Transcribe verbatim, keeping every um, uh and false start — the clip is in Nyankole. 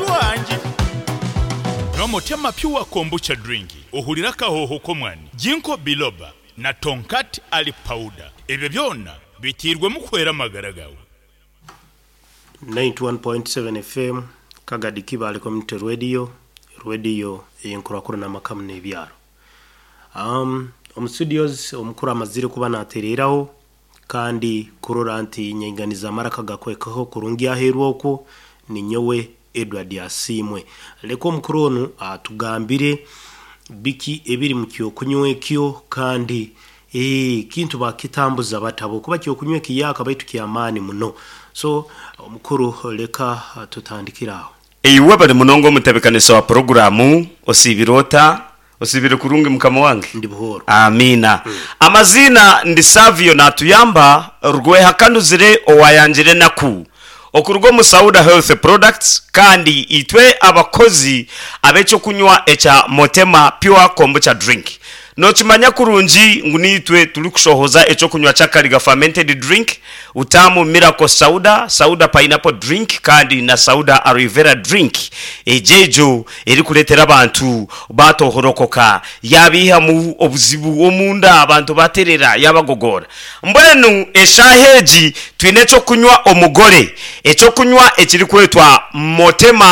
Muntu wange. Nywa Motema Pure Kombucha Drink ohurire akahooho k'omwani, Ginkgo Biloba na Tongkat Ali Powder. Ebyo byona biteirwemu kuhwera amagara gaawe. ninety one point seven F M, Kagadi Kibaale Community Radio, radio ey'enkurakurana n'amaka n'ebyaro. Um, omu studios omukuru amazire kuba natereeraho kandi kurora nti nyinganiza amaraka gakwekaho kurungi aheeru okwo ninyowe Edward Asiimwe. Leka omukuru onu atugambire biki ebiri mu kyokunywa ekyo kandi eh, kintu bakitambuza batabo kuba kyokunywa ekiyaka baitu kyamaani muno. So omukuru, leka tutandikire aho. Iwe bari munonga omutebekanisa wa puroguramu, osiibire ota? Osiibire kurungi mukama wange? Ndi buhooro. Amiina. Amaziina ndi Savio Natuyamba Rwehakanuzire owayangire enaku okuruga omu Sauda Health Products kandi itwe abakozi ab'ekyokunywa ekya Motema Pure Kombucha Drink. Nokimanya kurungi ngu niitwe turikushohoza ekyokunywa kya Kariga Fermented Drink, Utamu Miracle Sauda, Sauda Pineapple Drink kandi na Sauda Aloe Vera Drink egyo egyo erikureetera abantu baatohorokoka yaabaihamu obuzibu omunda abantu baaterera yaabagogoora. Mbwenu eshaaha egi twine ekyokunywa omugore, ekyokunywa ekirikwetwa Motema.